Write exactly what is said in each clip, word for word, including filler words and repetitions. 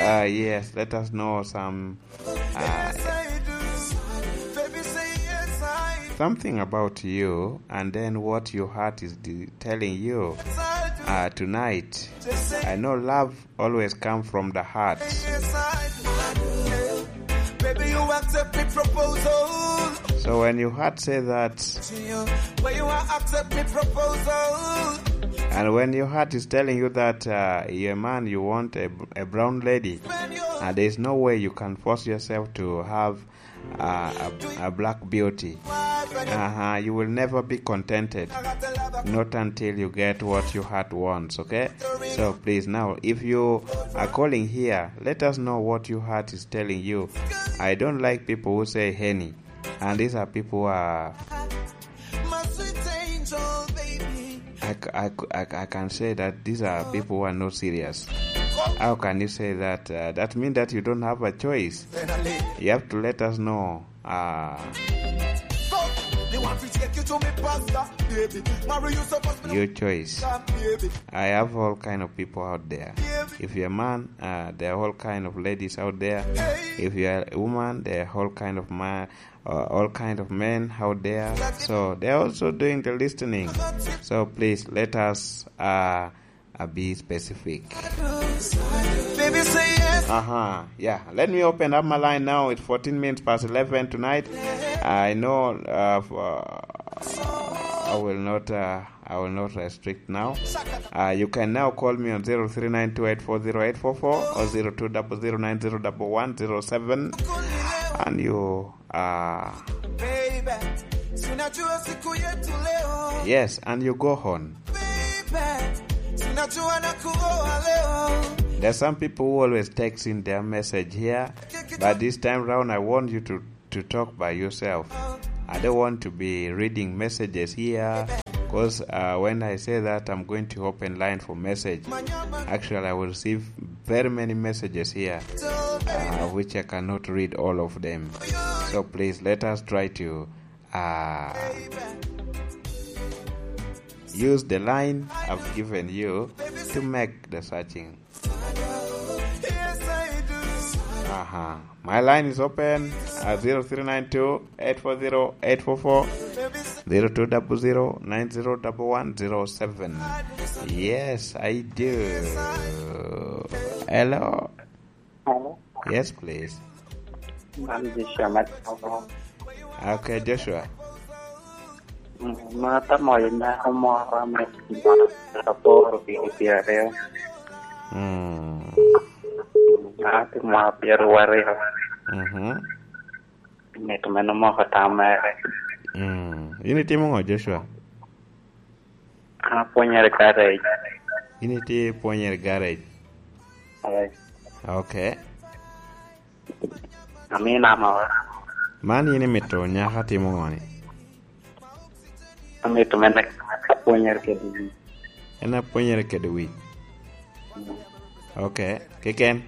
Uh, yes, let us know some uh, something about you and then what your heart is de- telling you uh, tonight. I know love always comes from the heart. Baby, you accept me proposal. So when your heart say that, when you accept me proposal, and when your heart is telling you that uh, you're a man, you want a, a brown lady, and there's no way you can force yourself to have uh, a, a black beauty. Uh-huh. You will never be contented, not until you get what your heart wants, okay? So please, now, if you are calling here, let us know what your heart is telling you. I don't like people who say Henny, and these are people who are I, c- I c- I c- I can say that these are people who are not serious. How can you say that? Uh, that means that you don't have a choice. You have to let us know uh, your choice. I have all kind of people out there. If you're a man, uh, there are all kind of ladies out there. If you're a woman, there are all kind of man uh, all kind of men out there. So they're also doing the listening. So please let us uh, uh, be specific. Uh-huh. Yeah. Let me open up my line now. It's fourteen minutes past eleven tonight. I know uh, f- uh, I will not. Uh, I will not restrict now. Uh, you can now call me on zero three nine two eight four zero eight four four or zero two double zero nine zero double one zero seven. And you Ah. Yes, and you go on. There's some people who always text in their message here, but this time round I want you to, to talk by yourself. I don't want to be reading messages here, because uh, when I say that, I'm going to open line for message. Actually, I will receive very many messages here, uh, which I cannot read all of them. So please let us try to uh, use the line I've given you to make the searching. Uh-huh. My line is open at zero three nine two eight four zero eight four four, zero two double zero nine zero double one zero seven. Yes, I do. Hello. Hello. Yes, please. Man Joshua Matomo. Okay, Joshua. Mm, ma atamo i nyako moro me aporo pi pyeraryo. Mm. Atimo pyeraryo. Mhm. Mit meno moko tam mere. Mm. In itimo ŋo, Joshua? An apwonyere garage. In itye pwonyere garage? Eh. Okay. Amina mawa. Man in imito nyaka timo ŋo ni? Amito mene apwonyere kede wi. En apwonyere kede wi. Mm. Okay. Keken?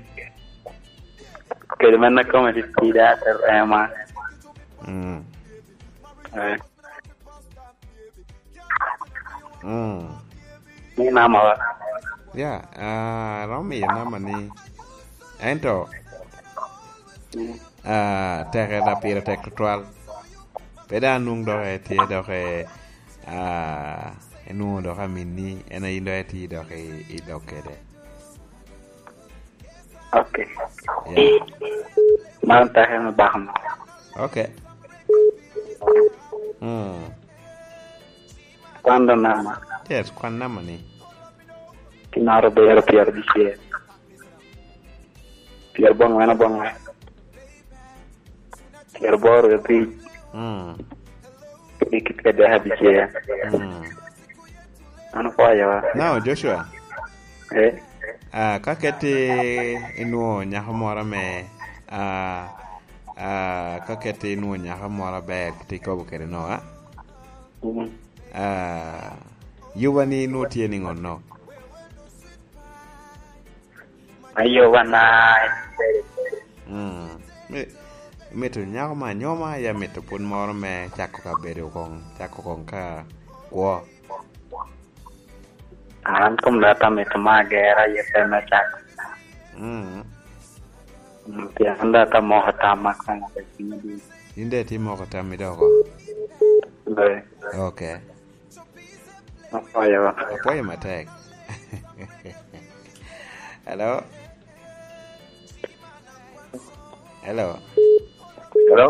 Kede mene kome titida te rema. Mm. Eh. Mm. Ni namba wa? Ya, ah, romo miyo namba ni. Ento, mm, ah, tek eda pire tek tutwal. Pe dong anwoŋ dok etye dok e, ah, enwoŋo dok aminni, en ayin dok etye dok i, i dok kede. Okay. Yeah. Man peke me bako mo. Okay. Mm. Kwan do nama? Yes, kwan nama ni. Kinaro bero pyero bicel. Pyero bongwen abongwen. Pyero boro abic. Mm. Kede kit ka dek abicel. Mm. An okwayo wa. Now, Joshua. Eh? Ah, ka keti inwoŋo nyako moro ame, ah, ah, ka keti inwoŋo nyako moro aber, kit ikobo kede no, ah? Mm. Ah, yubani inwoŋo tye niŋo no? Ayo, wan a. Mm. Mi-, imito nyako me anyoma, ya mito pwod moro me cako kabedo koŋ, cako koŋ ka kwo? An kom data mito me agera, ye pe me cako. Mm. Mm, pien an daŋ atye amoko tam akana i piny aduc. In daŋ itye moko tam i doko? Ee. Ok. Apwoyo. Apwoyo matek. Hello? Hello? Hello?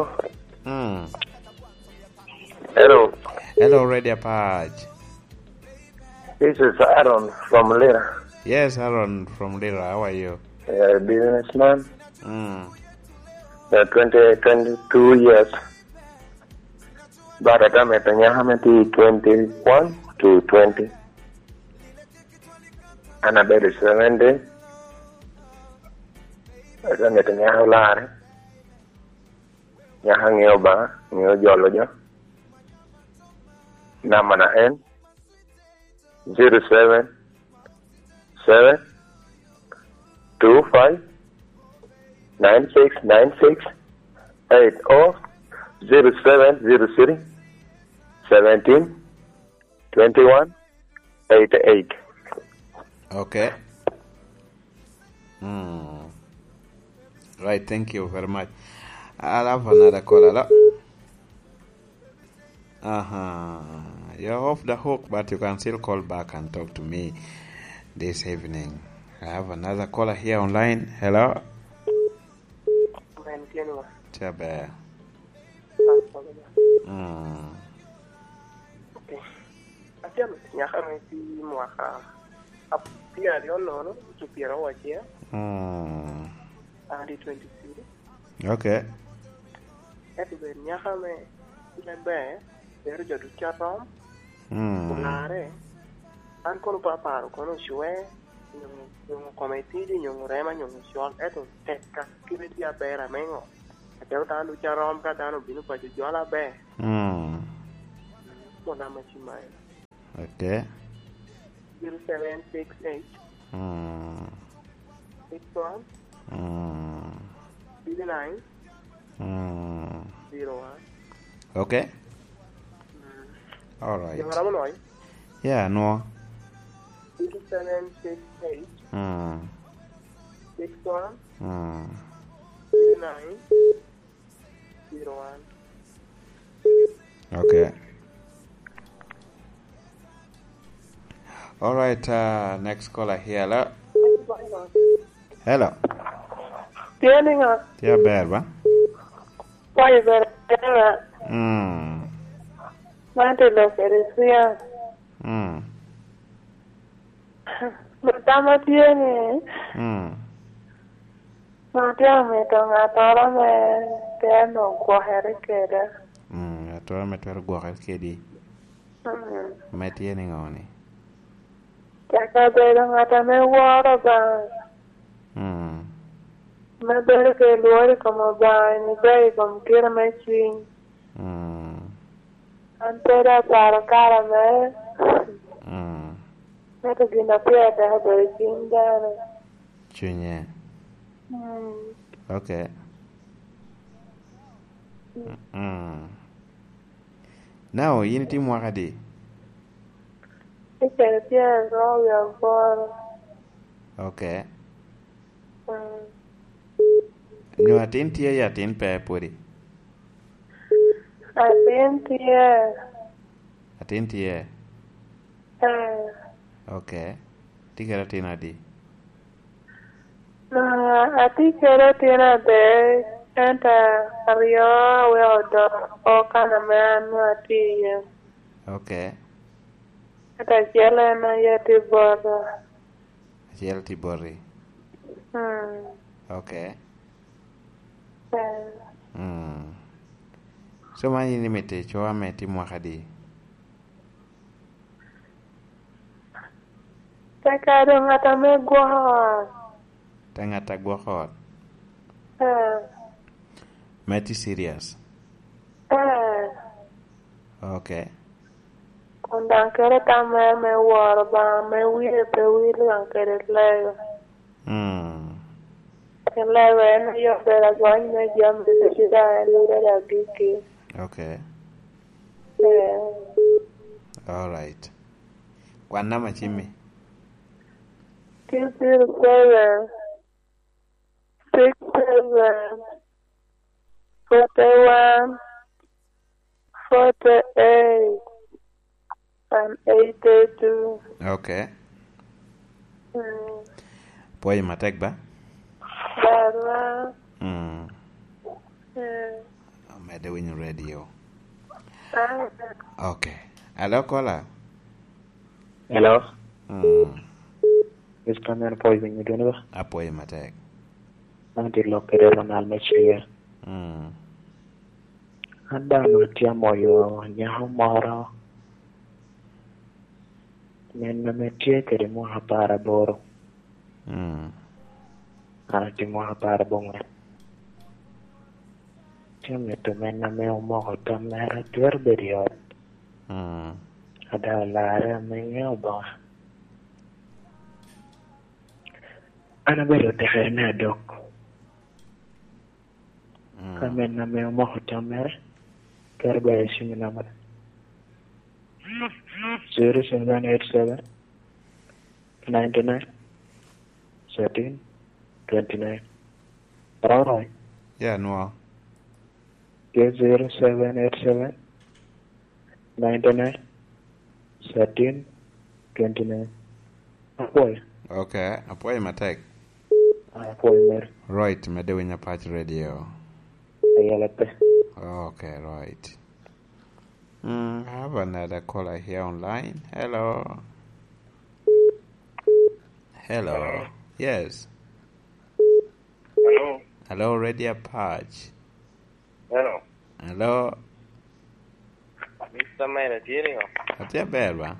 Mm. Hello? Hello, Radio Apac. This is Aaron from Lira. Yes, Aaron from Lira. How are you? A businessman. Mm. Uh, twenty, twenty-two years. But I tell me, nyaka me ti twenty-one to twenty. An abedo seventy. Eka ŋete nyaka olarre. Nyaka ŋeo Obaŋa, ŋeo jolo jo. Namana en zero seven seven two five nine six nine six eight, or zero seven zero three seventeen twenty-one eighty-eight. Okay. Mm. Right, thank you very much. I'll have another call. Hello? Uh-huh. You're off the hook, but you can still call back and talk to me this evening. I have another caller here online. Hello? Tye aber. Mm. Atye nyaka me pi mwaka ap-, pyeraryo nono, otuco pyeraryo acel. Mm. An tye twenty-three. Okay. Ento bed nyaka me pire ber, bero jo ducu arom. Mm. Olarre, an kono pe aparo kono ocwe, nyo, nyo kome tidi, nyo rema, nyo col, ento tekka kite tye aber amego. Atemo dano ducu arom, ka dano obino paco jolo aber. Mm. Mo namba ci mayo. Okay. Zero seven six eight. Mm. Six one. Mm. Six nine. Mm. Zero one. Okay. Mm. All right. Jara mo noi. Yeah, no. Zero seven six eight. Mm. Six one. Mm. Six nine. Zero one. Okay. All right, uh, next caller here. Hello? Hello? Tye niŋa? Tye aber ba? Kwayo ber, ber. Mm. Man tye lok Eritrea. Mm. Tam tye ni, mm, atye amito ŋattoro ame pe onwoŋo gwokere keda. Mm, ŋattoro ame twero gwokere kedi. Mm. Ame tye ni ŋo ni? Caka bedo ŋat ame woro Obaŋa. Mm. Me bedo kede lworo i kom Obaŋa, ni ber i kom kite me cwiny. Mm. An pwod aparo kare mere. Mm. Ento gin a pire tek obedo cuny dano. Cunye. Mm. Ok. Mm. Now, in itye mwaka adi? Tye kede pyeraryo wiye aboro. Ok. Mm. Nyo atin tye ya atin pe pwodi? Atin tye. Atin tye? Eh. Ok. Tye kede atin adi? Ah, atye kede atin adek, ento aryo aweko odoko oko kan ame an nwoŋo atye iye. Ok. Ento acel en aye tye bota. Acel tye boti? Mm. Ok. Eh. Mm. So, man in imito ico ame tye mwaka adi? Tekka doŋ ŋat ame gwoko ot. Te ŋat a gwoko ot? Eh. Ma tye serious? Eh. Ok. Kun daŋ kede tam mere me woro Obaŋa, me wie pe wil daŋ kede lego. Mm. Pi lego en aye obedo agony me jami ducu, daŋ en wile agikki. Ok. Eh. All right. Kwan namba cimmi. Two zero seven. six seven, forty one, forty eight, and eighty two. Okay. Mm. Pwoyo matek ba? Barwa. Mm. Mm. Amedde winyo radio. Ah. Okay. Alo, kola. Hello. Mm. Mister Man, apwoyo winyo dwoni ba? Apwoyo matek. An tye lok kede Ronald me Cia. Mm. An dano atye amoyo nyako moro, men ame tye kede mwaka apar aboro. Mm. An atye mwaka apar abongwen. Tye mito men ame omoko tam mere twero bedo i ot. Mm. Ada olarre ame ŋeo Obaŋa. An abedo tekere me adok. Mm. Ka men ame omoko tam mere, twero goyo cim i namba zero seven eight seven, ninety nine, thirteen, twenty nine. Oromo? Yeah, nwo. Tye zero seven eight seven, ninety nine, thirteen, twenty nine. Apwoyo. Okay, apwoyo matek. Apwoyo mere. Right, medde winyo Apac Radio. Ayala pe. Okay, right. Mm, I have another caller here online. Hello. Hello. Hello. Yes. Hello. Hello, Radio Apac. Hello. Hello. Mister Maila, tye niŋo? Atye aber ba.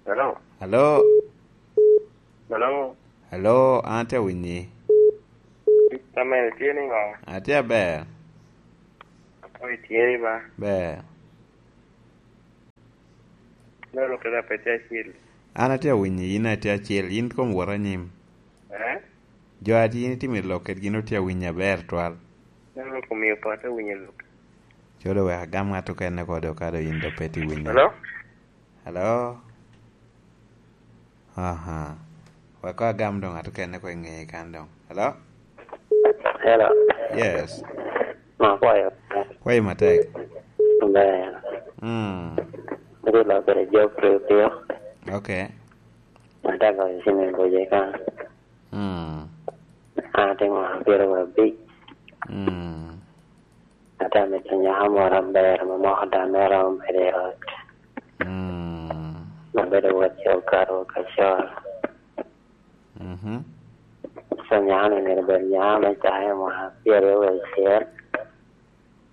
Hello. Hello. Hello. Hello, an atye awinyi. Mister Maila, tye niŋo? Atye aber. Apwoyo, tye ni ba. Ber. Ber, okelo pe tye acel. An atye awinyi, in atye acel, in kom wot anyim. Eh? Jo a in itimo i lok kedgi nongo tye awinyi aber twal. Neno lok omio pot awinyo lok. Codo wek agam ŋat okene ko, dok ka dong in dok pe tye winyo. Hello? Hello? Aha. Wek ko agam dong ŋat okene ko i ŋeye kan dong. Hello? Hello? Yes. Ma kwayo. Kwayo matek. Ber. Mm. Ri lo pire job pio pio. Okay. Ata lo isini boje ka. Mm. Ate ŋo piro wa bi. Mm. Ate amito nyako moro aber ma moko dano romo bedo i ot. Mm. Ma bedo wot jo okato ka col. Mhm. So nyako-ni myero bed nyako me cako i mwaka pyeraryo wiye acel,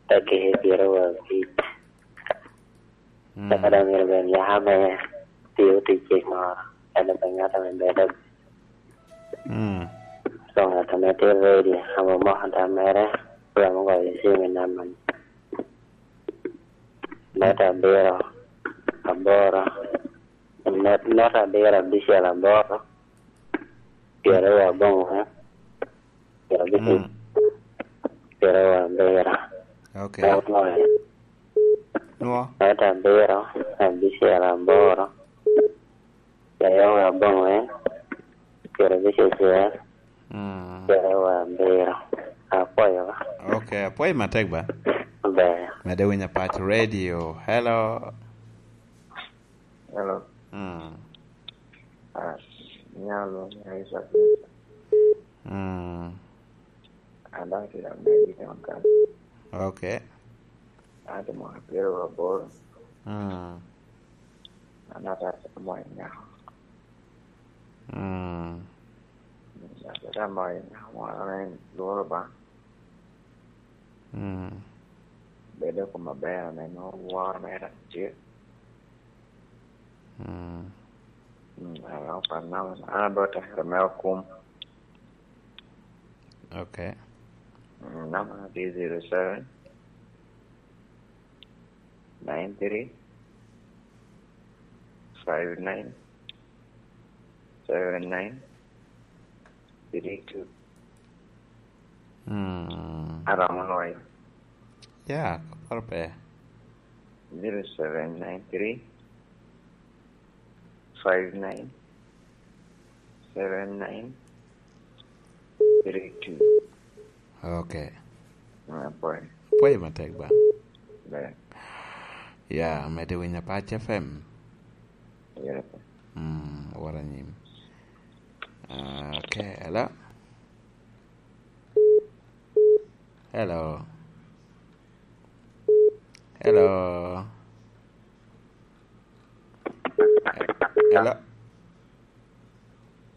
te giki pyeraryo wiye abic. Mm. Eka dok myero bed nyako ame tiyo tic cik moro, en pe ŋat ame bedo. Mm. So ŋat ame tye ready, ame omoko tam mere, romo goyo cim i namba-ni. Nota abiro, aboro, not, nota abiro, abicel, aboro, pyeraryo aboŋwen, pyerabicel, mm, pyeraryo abiro. Okay. Nota abiro, abicel, aboro, pyeraryo aboŋwen, pyerabicel, mm, pyeraryo abiro. Apwoyo ba. Okay, apwoyo matek ba. Ber. Mede winyo Apac Radio. Hello. Hello. Mm. Ah, nyalo, nyalo, Isaac. Mm. An dok atye ka medi doŋ kan. Okay. An atye mwaka pyeraryo aboro. Mm. An atye ka moyo nyako. Mm. Atye ka moyo nyako moro ame lworo ba. Mm. Bedo koma ber ame nwoŋo woro mere tye. Mm. Mm, an aromo paro namba, an abiro tero me okum. Okay. Mm, namba na tye zero seven, nine three, five nine, seven nine, three two. Mm. Aromo loyo. Yeah, kaporo pe. Zero seven nine three, five nine, seven nine, three two. Okay. Ah, pwony. Pwony matek ba. Ber. Ya, mede winyo Apac F M. Yes. Mm, wot anyim. Ah, okay, hello? Hello? Hello? Hello?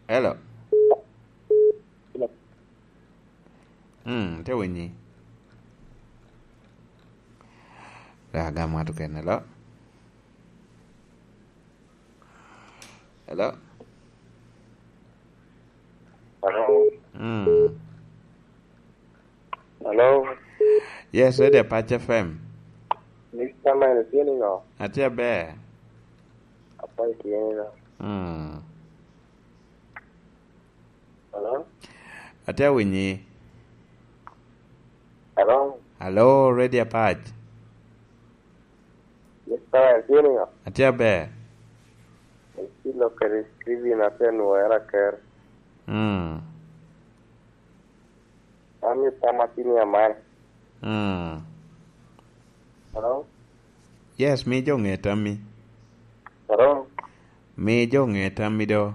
Hello? Mm, te winyi. Ra gam ŋat okene, hello? Hello? Hello? Mm. Hello? Yes, Radio Apac F M. Mister Samuel, itye niŋo? Atye aber. Apac itye niŋo? Mm. Hello? Atye awinyi. Hello? Hello, Radio Apac. Mister Samuel, itye niŋo? Atye aber. Itye lok kede Steven, atye anwoŋere aker. Mm. An i tammi atye niŋo man? Mm. Hello? Yes, mi jo ŋe tammi. Hello? Mi jo ŋe tammi do.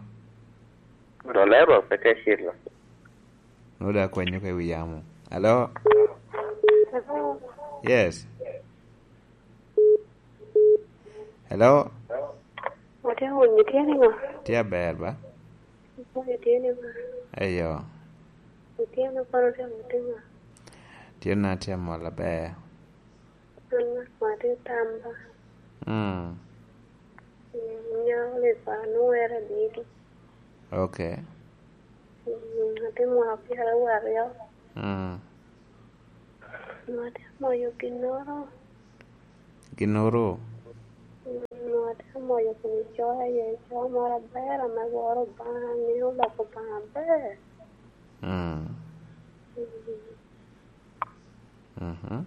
Ro lero pe te cilo. Nwoŋo dok akwenyo ka i wi yamo. Hello? Yes. Hello? Atye awinyi, itye niŋo? Tye aber ba? Itye niŋo? Eyo. Itye niŋo, kono itye niŋo? Tye na tye mol aber. An atye tamba. Mm. Mm, nyako Oliver, anwoŋere adidi. Okay. Mm, atye mwaka pyeraryo aryo. Mm. Nwoŋo atye amoyo ginnoro. Ginnoro? Mm, nwoŋo atye amoyo kun icoya iye, icoya moro aber ame woro Obaŋa, ŋeo loko Obaŋa aber. Mm. Mm. Mhm.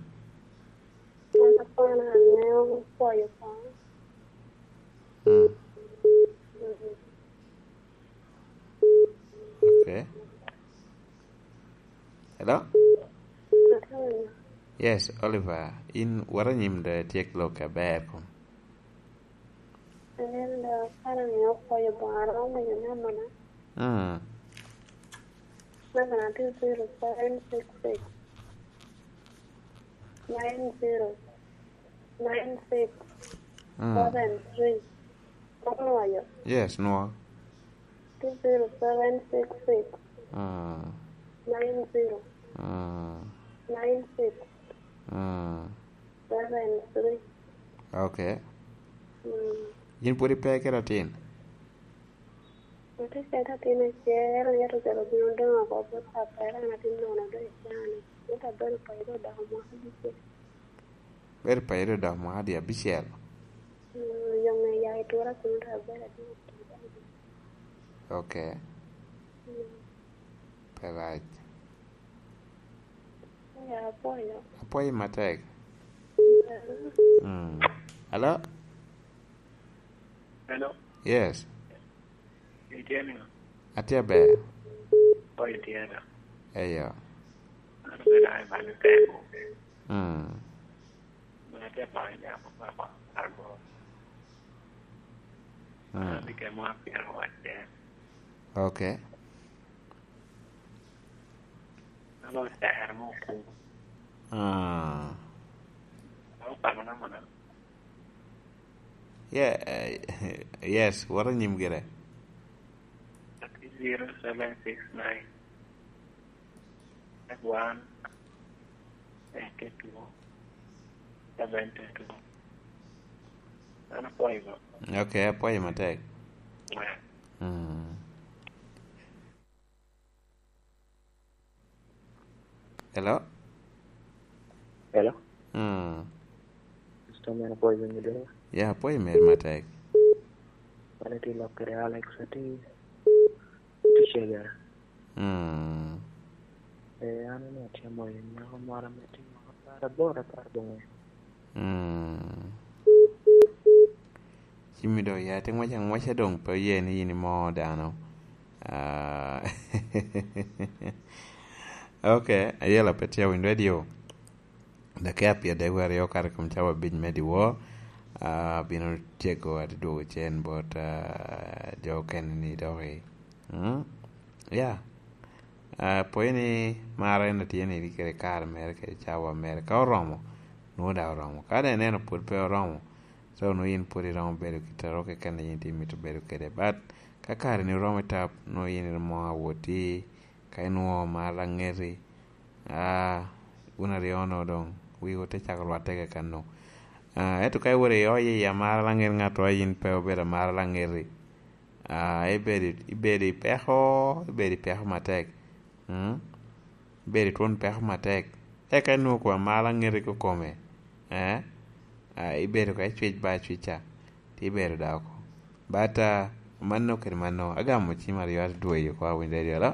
An akwano aŋeo pwoyo Obaŋa. Mm. Mm. Okay. Hello? Atye awinyo. Yes, Oliver, in wot anyim do, ityek lok aber kom. Aneno do akwano aŋeo pwoyo Obaŋa, romo winyo namana. Mm. Namana tye zero seven six six, nine zero, nine six, mm, seven three. Mom nwoyo? Yes, nwoŋo. Tye zero seven six six, mm, nine zero, mm, nine six, mm, seven three. Okay. Mm. Yin pwod ipe kede atin? Atye kede atin acel, ento calo obino doŋ oko bot papere, an atin nono doŋ i can-ni. Ento abedo paco odoko mwaka abicel. Bedo paco odoko mwaka adi, abicel? Mm, yo ŋe ya i tura kuno dok abedo atin. Okay. Mm. Pe rac. Ya, apwoyo. Apwoyo matek. Mm. Mm. Hello? Hello? Yes. Itye niŋo? Atye aber. Oh, itye da. Eyo. An abedo a i Bani Tembo. Mm. An atye a paro nyako me apar aryo. Mm. An atye kede mwaka pyeraryo acel. Okay. An ocero me okubo. Ah. An opamo namana. Yeah, eh, yes, wot anyim gire. Zero seven six nine, one, eight two, seven two. An apwoyo. Okay, apwoyo matek. Yeah. Mm. Hello? Hello? Mm. Mister Man, apwoyo winyo doŋ. Ya, apwoyo meri matek. An atye lok kede Alex, atye, atye Cega. Mm. Eh, an onongo atye amoyo nyako moro ame tye mwaka apar aboro, apar abongwen. Mm. Cimmi doŋ oya, ite ŋwec aŋweca doŋ pe oye ni yin imo dano. Ah, ok, ayela pe tye Winy Radio. Dakika pyeradek wiye aryo okato i kom cawa abic me dyewor. Ah, abino tyeko ate dwogo cen bot, ah, jo okene ni doki. Mm? Ya. Ah, pwony ni mara en atye ni kede kare mere kede cawa mere. Ka oromo, nwoŋo daŋ oromo. Ka daŋ ineno pwod pe oromo, so nwoŋo yin pwod iromo bedo ki tero keken a yin itye mito bedo kede. But ka kare ni oromo i tap, nwoŋo yin iromo awoti, ka inwoŋo mar aŋeti, ah, wun aryo-nu doŋ wiwu te cako rwatte keken-nu. Ah, ento ka iwoto i oye i amara laŋet ŋat a yin pe obedo amara laŋeti, ah, ibedo, ibedo i peko, ibedo i peko matek. Mm? Ibedo i twon peko matek. Eka inwoŋo kwon amara laŋeti kokome. Eh? Ah, ibedo ka icwec ba acwica. Tye ibedo daŋ oko. But, ah, mano kede mano, agamo cim aryo ate dwoyo oko, awinyo redio, hello?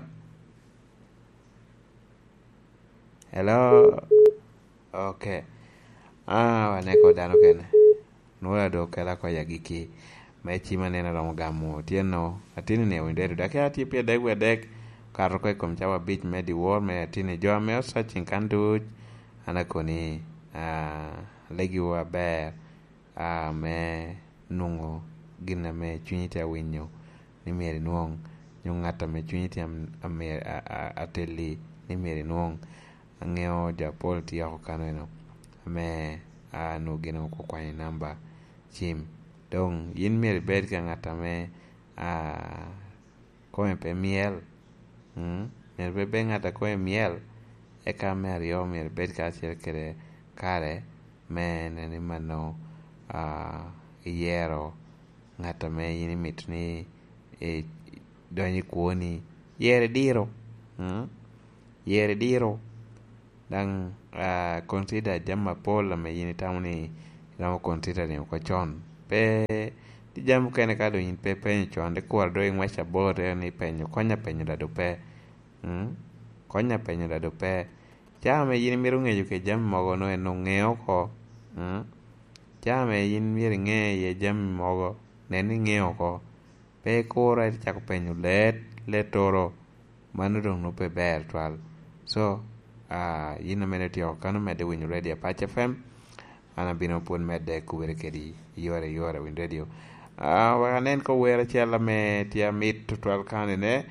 Hello? Ok. Ah, wane ko dano kene. Nwoŋo ado kela ko i agikki. Me cim aneno romo gamo otyeno. Ateni ni awinyo redio. Dakika tye pyeradek wiye adek. Kato oko i kom cawa abic me dyewor me ateni. Jo ame o searching kan duc, an akoni, ah, legiwu aber. Ah, me nwoŋo gin ame cunyi tye awinyo ni myero inwoŋ, nyo ŋat ame cunyi tye am-, ame-, a-, a-, atelli ni myero inwoŋ. Aŋeo jo apol tye oko kano eno ame, ah, nwoŋo gin okwanyo namba cim. Doŋ yin myero ibed ka ŋat ame, ah, kome pe myel. Mm? Myero pe bed ŋat a kome myel. Eka me aryo, myero ibed karacel kede kare me neno ni mano, ah, iyero ŋat ame yin imito ni i-, donyo i kwoni. Yere diro. Mm? Yere diro. Daŋ, ah, consider jami apol ame yin itamo ni iromo considering oko con. Pe, tye jami okene ka doŋ in pe ipenyo con, ikuro doŋ iŋwec abor, ento ni penyo, konya penyo dado pe. Mm? Konya penyo dado pe. Ca ame yin imito ŋeyo kede jami mogo, nwoŋo en oŋeo oko. Mm? Ca ame yin myero iŋe iye jami mogo, nen ni iŋeo oko. Pe ikur a icako penyo let, lettoro, mano doŋ nwoŋo pe ber twal. So, ah, yin ame ityeko kano, medde winyo Radio Apac F M, an abino pwod medde kubere kedi i yore i yore, Winy Radio. Ah, wek anen ko wer acel ame tye amit tutwal kani ne.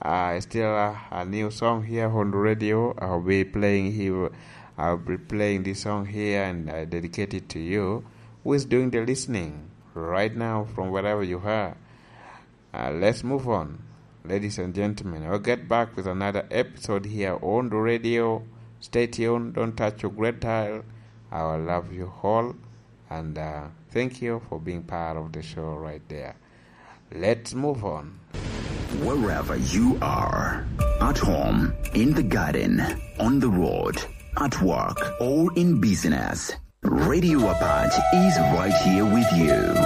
Ah, still, ah, a new song here on the radio. I'll be playing here, I'll be playing this song here and I dedicate it to you who is doing the listening right now from wherever you are. Uh, let's move on, ladies and gentlemen. I'll get back with another episode here on the radio. Stay tuned. Don't touch your great dial. I will love you all. And, uh, thank you for being part of the show right there. Let's move on. Wherever you are, at home, in the garden, on the road, at work, or in business, Radio Apache is right here with you.